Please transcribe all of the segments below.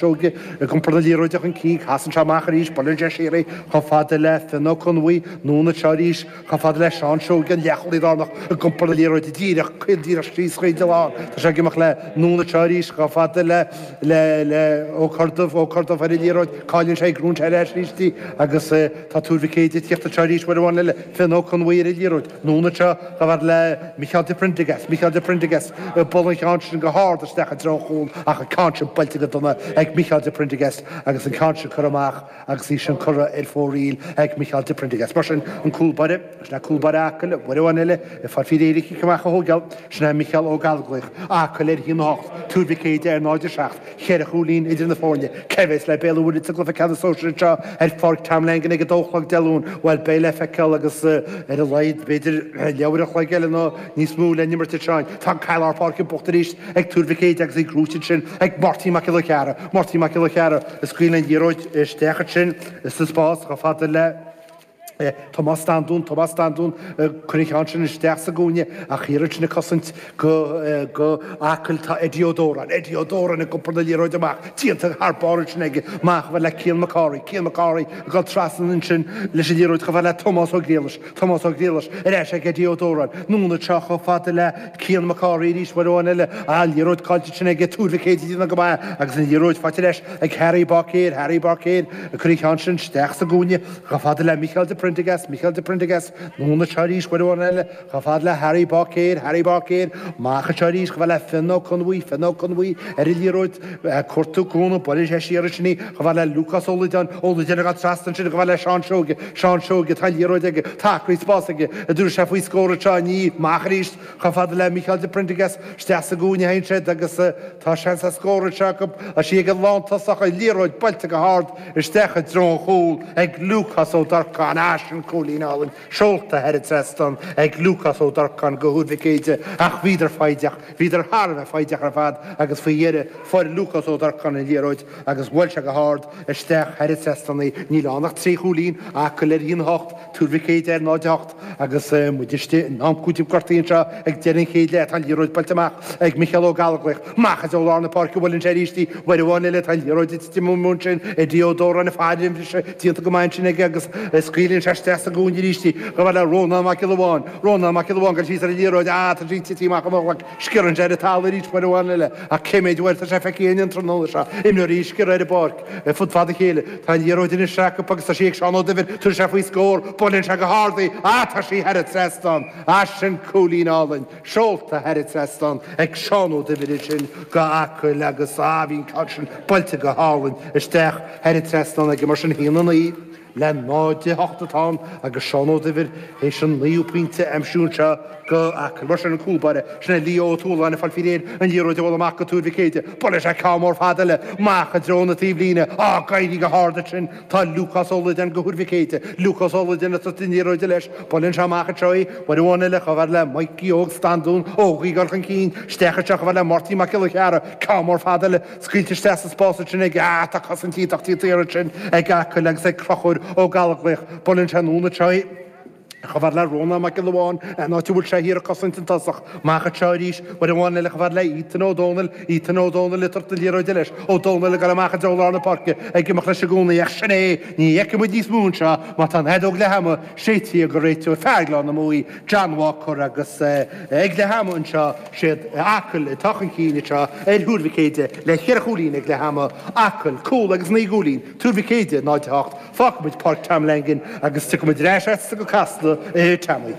Seoige ag iompar na liathróide chun cinn, casann sé amach arís, buaileann sé siar í chomh fada le Fionn Ó Conbhuí, anonn anseo arís chomh fada le Seán Seoige, an leathchúlaí lárnach ag iompar na liathróide díreach, caol díreach síos chuig an lár. Tá sé ag imeacht le anonn anseo arís chomh fada le le le Ó Corrdubh, Ó Corrdubh ar an liathróid, cailleann sé í, gnóthaíonn sé ar ais arís í agus tá Tuar Mhic Éide ag tíocht anseo arís uair amháin eile, Fionn Ó Conbhuí ar an liathróid. Anonn anseo chomh fada le Micheál de Prendergast, Micheál de Prendergast ag bualadh an cheann sin go hard isteach i dtreo an chúil ach an ceann sin buailte go dona ag Micheál de Prendergast agus an ceann sin curtha amach agus í sin curtha ar fóraoil ag Micheál de Prendergast. Mar sin, an cúl báire, sin é cúl báire Acaill, uair amháin eile, ag fáil faoi réir an chic amach a thógáil, sin é Micheál Ó Gallchóir, Acaill ar 1-8, Tuar Mhic Éide ar 0-7. Cheithre chúilín idir na foirne. Cé a bheas le Béal an Mhuirthead sa gcluiche ceannais sóisir anseo ar Pháirc Tom Langan ag a dó a chlog Dé Luain? Bhuel, beidh le feiceáil agus ar a laghad, b'fhéidir, leathuair an chloig eile nó níos mó le n-imirt anseo. Tá an ceann lár páirce buachta arís ag Tuar Mhic Éide agus í gnóite ansin ag Máirtín Mac Giolla Chearra. Máirtín Mac Giolla Chearra ag scaoileadh an liathróid isteach ansin sa spás chomh fada le. Tomás Standún, Tomás Standún, cuir an ceann sin isteach sa gcúinne ach thiar ansin ag cosaint go go Acaill tá Eddie Ó Dóráin, Eddie Ó Dóráin ag iompar na liathróide amach, déanta thar barr ansin aige, amach chomh fada le Cian McCorry, Cian McCorry ag dul trasna ansin leis an liathróid chomh fada le Tomás Ó Griallais, Tomás Ó Griallais ar ais ag Eddie Ó Dóráin, anonn anseo chomh fada le Cian McCorry arís uair amháin eile, an liathróid caillte ansin aige Tuar Mhic Éide ag déanamh go maith agus an liathróid faighte ar ais ag Harry Báicéir, Harry Báicéir ag cur an cheann sin isteach sa gcúinne. Chomh fada le Micheál de Prendergast, Micheál de Prendergast, anonn anseo arís uair amháin eile, chomh fada le Harry Báicéir, Harry Báicéir, amach anseo arís chomh fada le Fionn Ó Conbhuí, Fionn Ó Conbhuí, ar an liathróid, ag cuartú cúnamh, buaileann sé siar ansin í, chomh fada le Lúcás Ó Loideáin, Ó Loideáin ag dul trasna ansin chomh fada le Seán Seoige, Seán Seoige, tá an liathróid aige, tá acraí spáis aige, an dtabharfaidh sé faoi scór anseo, ní, amach arís, chomh fada le Micheál de Prendergast, isteach sa gcúinne a théann siad agus tá seans ar scór anseo acu, tá sí ag an lántosach, an liathróid buailte go hard, Isteach i dtreo an chúil ag Lúcás Ó Durcáin, ah sin cúilín álainn, seolta thar an trasnán ag Lúcás Ó Durcáin go Thuar Mhic Éide ach bhíodar foighdeach, bhíodar thar a bheith foighdeach ar fad agus faoi dheireadh fuair Lúcás Ó Durcáin an liathróid agus bhuail sé go hard isteach thar an trasnán í. Níl ann ach 3 chúilín, Acaill ar 1-8, Tuar Mhic Éide ar 0-8 agus muid istigh in am cúitimh gortaithe anseo ag deireadh an chéad leath. Tá an liathróid buailte amach ag Micheál Ó Gallchóir. Amach i dtreo lár na páirce buaileann sé arís í. Uair amháin eile tá an liathróid ag titim amú ansin. Eddie Ó Dóráin ag faire an bhriseadh déanta go maith ansin aige agus scaoileann sé isteach sa gcúinne arís í. Chomh fada le Rónán Mac Giolla Bháin. Rónán Mac Giolla Bháin ag dul síos ar an liathróid. Ah, tá sí tite amach ó mo ghlac. Sciorrann sé ar an talamh arís uair amháin eile. Ach cé mhéid uair atá sé feicthe againn an tráthnóna seo. Imreoirí ag sciorradh ar an bpáirc. Ar fud fad a chéile. Tá an liathróid anois acu agus tá sí ag Seán Ó Duibhir. Tabharfaidh sé faoi scór. Buaileann sé go hard í. Ah, tá sí thar an trasnán. Ah, sin cúilín álainn. Seolta thar an trasnán ag Seán Ó Duibhir ansin go Acaill agus ah, bhí an ceann sin buailte go hálainn isteach thar an trasnán aige. Mar sin, 1-9 le 0-8 atá ann agus Seán Ó Duibhir théis an naoú pointe a aimsiú anseo go Acaill. Mar sin an cúl báire, sin é Leo Ó Tualáin ag fáil faoi réir an liathróid a bhualadh amach go Tuar Mhic Éide. Buaileann sé ceann mór fada eile amach i dtreo na taobhlíne. Á, ag éirí go hard ansin tá Lúcás Ó Loideáin go Thuar Mhic Éide. Lúcás Ó Loideáin ag tabhairt an liathróid leis. Buaileann sé amach anseo í. Uair amháin eile chomh fada le Mikey Óg Standún. Óg ag dul chun cinn. Isteach anseo chomh fada le Máirtín Mac Giolla Chearra. Ceann mór fada eile. Scaoilte isteach sa spás ansin ag, ah, tá cosaint iontach déanta ansin ag Acaill agus ag Conchúr Ó Gallchóir. Buaileann sé anonn anseo í. Chomh fada le Rónán Mac Giolla Bháin, an áit a bhfuil sé thiar ag cosaint an tosach. Amach anseo arís, uair amháin eile chomh fada le Ethan Ó Dónaill, Ethan Ó Dónaill ag tabhairt na liathróide leis. Ó Dónaill ag dul amach i dtreo lár na páirce, ag imeacht leis i gcónaí, ach sin é, ní fheicfidh muid níos mó anseo má tá an fheadóg leath ama séidte ag an réiteoir, fear Ghleann na Muaidhe, John Walker agus ag leath ama anseo, Siad Acaill atá chun cinn anseo ar Thuar Mhic Éide le cheithre chúilín ag leath ama, Acaill, cúl agus 9 gcúilín, Tuar Mhic Éide 0, 8. Fágfaidh muid Páirc Tom Langan agus tiocfaidh muid ar ais agatsa go Casla, a Tommy.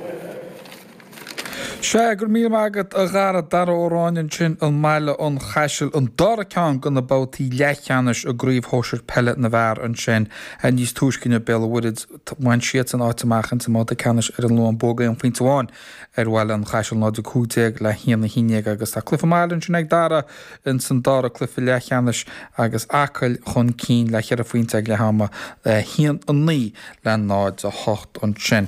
Sea, go raibh míle maith agat a Dhara, Dara Ó Ráinne ansin i mBaile an Chaisil, an dara ceann de na babhtaí leathcheannais i gCraobh Shóisir Peile na bhFear ansin níos túisce inniu, Béal an Mhuirthead, bhain siadsan áit amach ins an mbabhta ceannais ar an Luan, bua aon phointe amháin. ar Bhaile an Chaisil 0 15 le 1 11 agus tá cluiche maith eile ansin ag Dara ins an dara cluiche leathcheannais agus Acaill chun cinn le cheithre phointe ag leath ama 1 9 le 0 8 ansin.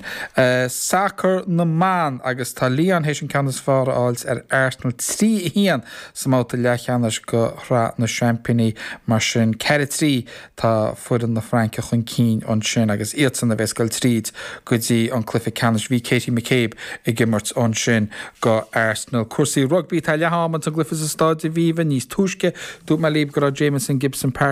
Sacar na mBan agus tá Leon. Lyon théis an ceann is fearr a fháilt ar Arsenal 3, 1 sa mbabhta leathcheannais go Shraith na Seaimpíní. Mar sin 4, 3 tá foireann na Fraince chun cinn ansin agus iadsan a bheas ag goil tríd go dtí an cluiche ceannais. Bhí Katie McCabe ag imirt ansin go Arsenal. Cúrsaí rugbaí, tá leath-am ins an gcluiche sa Stáid Aviva níos túisce. Dúirt mé libh go raibh Jamison Gibson-Park.